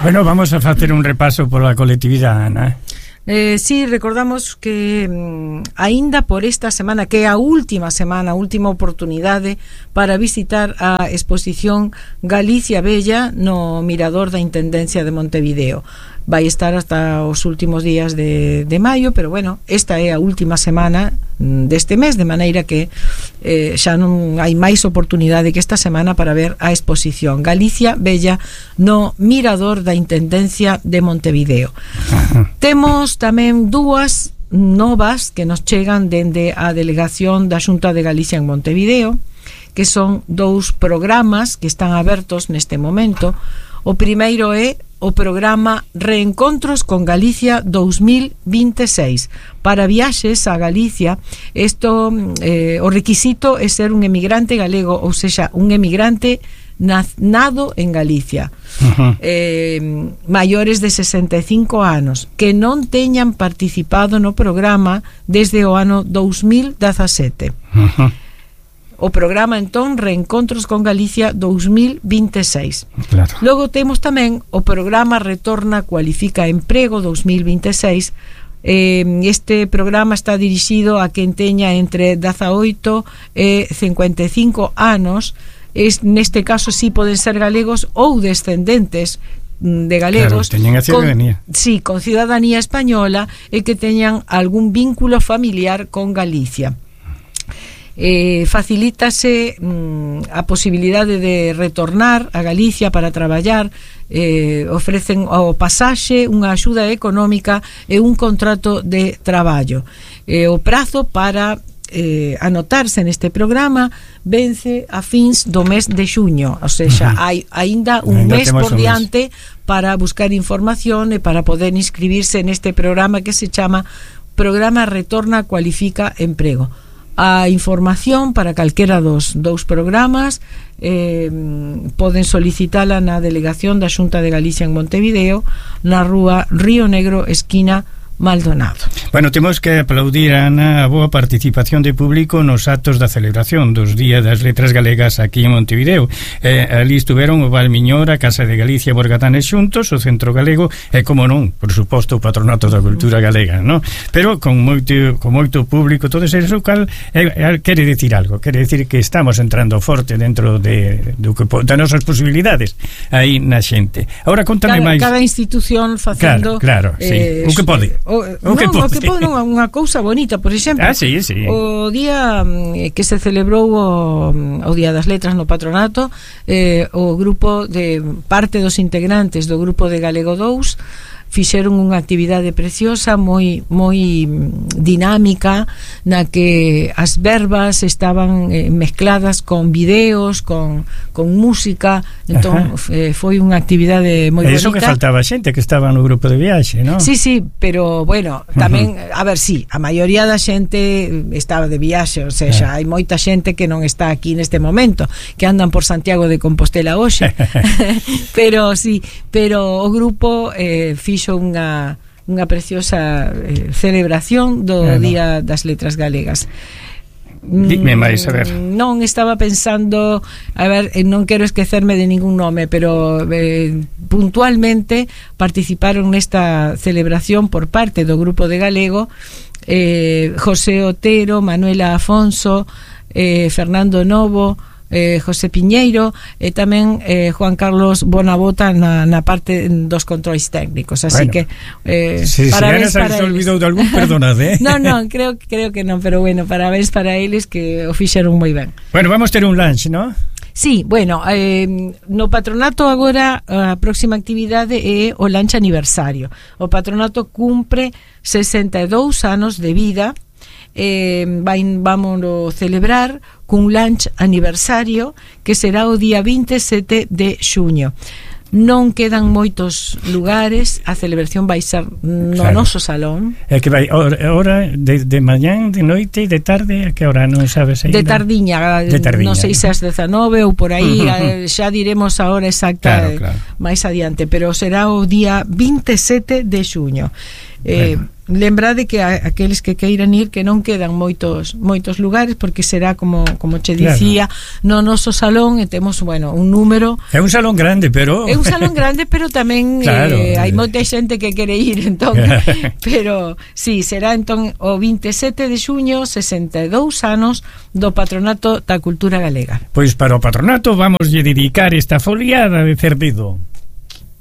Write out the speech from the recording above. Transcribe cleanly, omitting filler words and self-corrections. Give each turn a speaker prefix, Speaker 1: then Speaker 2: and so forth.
Speaker 1: Bueno, vamos a facer un repaso pola colectividade, Ana.
Speaker 2: Sí, recordamos que aínda por esta semana, que é a última oportunidade para visitar a exposición Galicia Bella no Mirador da Intendencia de Montevideo. Vai estar hasta os últimos días de maio, pero bueno, esta é a última semana deste mes, de maneira que xa non hai máis oportunidade que esta semana para ver a exposición Galicia Bella no Mirador da Intendencia de Montevideo. Temos tamén dúas novas que nos chegan dende a delegación da Xunta de Galicia en Montevideo, que son dous programas que están abertos neste momento. O primeiro é o programa Reencontros con Galicia 2026 para viaxes a Galicia. Isto, o requisito é ser un emigrante galego, ou seja, un emigrante nado en Galicia, maiores de 65 anos, que non teñan participado no programa desde o ano 2017. O programa, entón, Reencontros con Galicia 2026.
Speaker 1: Claro.
Speaker 2: Logo temos tamén o programa Retorna Cualifica Emprego 2026. Este programa está dirixido a quen teña entre 18 e 55 anos. Neste caso sí poden ser galegos ou descendentes de galegos,
Speaker 1: claro, teñen a ciudadanía.
Speaker 2: Sí, con ciudadanía española e que teñan algún vínculo familiar con Galicia. Facilítase a posibilidade de retornar a Galicia para traballar, ofrecen o pasaxe, unha axuda económica e un contrato de traballo. O prazo para anotarse neste programa vence a fins do mes de xuño, ou seja, hai aínda un mes por diante para buscar información e para poder inscribirse neste programa que se chama Programa Retorna Cualifica Emprego. A información para calquera dos dous programas poden solicitala na delegación da Xunta de Galicia en Montevideo, na rúa Río Negro, esquina Maldonado.
Speaker 1: Bueno, temos que aplaudir a Ana a boa participación de público nos actos da celebración dos Días das Letras Galegas aquí en Montevideo. Ali estuveron o Valmiñor, a Casa de Galicia, Borgatanes xuntos, o Centro Galego e, como non, por suposto, o Patronato da Cultura Galega, ¿no? Pero con moito público, todo eso, cal quere decir algo, quere decir que estamos entrando forte dentro das nosas posibilidades aí na xente. Agora, contame máis.
Speaker 2: Cada institución facendo...
Speaker 1: Claro, sí. O que pode.
Speaker 2: O que pode unha cousa bonita, por exemplo,
Speaker 1: sí.
Speaker 2: o día que se celebrou o Día das Letras no Patronato, o grupo de parte dos integrantes do grupo de Galego 2 fixeron unha actividade preciosa, moi dinámica, na que as verbas estaban mezcladas con videos, con música. Entón foi unha actividade moi bonita.
Speaker 1: Eso que faltaba xente que estaba no grupo de viaxe, non?
Speaker 2: Sí, pero bueno, tamén, a ver, sí, a maioría da xente estaba de viaxe, ou seja, hai moita xente que non está aquí neste momento, que andan por Santiago de Compostela hoxe. pero o grupo fixo unha preciosa celebración do Día das Letras Galegas.
Speaker 1: Dime máis, a ver.
Speaker 2: Non estaba pensando, a ver, non quero esquecerme de ningún nome, pero puntualmente participaron nesta celebración por parte do grupo de Galego José Otero, Manuela Afonso, Fernando Novo, José Piñeiro e tamén Juan Carlos Bonabota na parte dos controis técnicos, así que parabéns para eles. Se olvidou de algún, perdonade. Non, creo que non, pero bueno, parabéns para eles que o fixeron moi ben.
Speaker 1: Bueno, vamos ter un lunch, ¿no?
Speaker 2: Sí, bueno, no Patronato agora a próxima actividade é o lunch aniversario. O Patronato cumpre 62 anos de vida. Vámonos celebrar cun lunch aniversario que será o día 27 de xuño. Non quedan moitos lugares, a celebración vai ser no noso salón.
Speaker 1: É que vai hora de mañán, de noite e de tarde, a que hora non sabes ainda?
Speaker 2: De tardiña, non sei se as 19 ou por aí, xa diremos a hora exacta, claro. máis adiante, pero será o día 27 de xuño. lembrade que aqueles que queiran ir, que non quedan moitos lugares, porque será como che dicía, no noso salón, e temos, bueno, un número.
Speaker 1: É un salón grande, pero
Speaker 2: tamén hai moita xente que quere ir, entón, pero sí, será entón o 27 de xuño, 62 anos do Patronato da Cultura Galega.
Speaker 1: Pois para o Patronato vamos lle dedicar esta foliada de Cerdido.